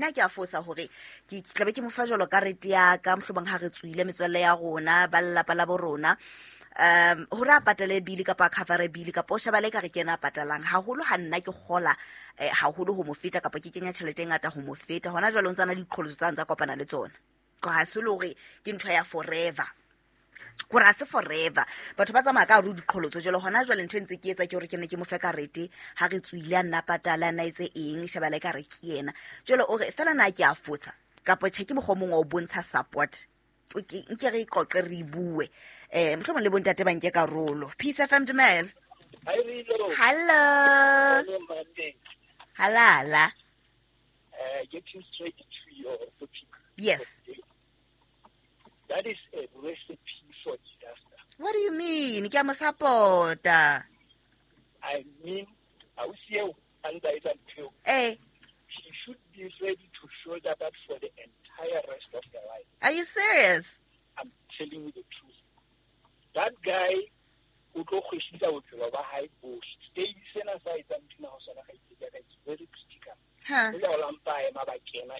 Nna ke a fosa hore ke tlabe ke mo fa jwalo karete ya ka, mohlomong ha re tswile metswalle ya rona, ba lelapa la bo rona, hore a patale bili kapa a covere bili, kapa o shebale ka re ke yena a patalang haholo. Ha nna ke kgola haholo ho mo feta, kapa ke kenya tjhelete e ngata ho mo feta. Hona jwale o ntse a na le diqholotso tsa ntsa kopana le tsona. Ka ha se le hore ke ntho ya forever, gore ha se forever, batho ba tsamaya ka hare ho diqholotso. Jalo hona jwale ntho e ntse ke etsa ke hore ke ne ke mo fe karete ha re tswile, a nna patala, a nna etse eng, shebala e ka re ke yena. Jalo o re fela na ke a fotsa kapa tjhe, ke mokgwa o mongwe wa ho bontsha support. Nke re qoqe, re bue, mohlomong le bontate ba nke karolo. Peace FM, dumela. Hello. Halala. Getting straight to your topic. Yes. That is a recipe for disaster. What do you mean? Ke a mo support-a. I mean, ausi eo a ntsa etsa ntho eo. She should be ready to shoulder that for the entire rest of her life. Are you serious? I'm telling you the truth. That guy o tlo kgwesitsa bophelo ba hae bohle. Stage sena sa etsang ntho ho sona ga itse ka, it's very critical. Huh. O ya o lampa ema ba kena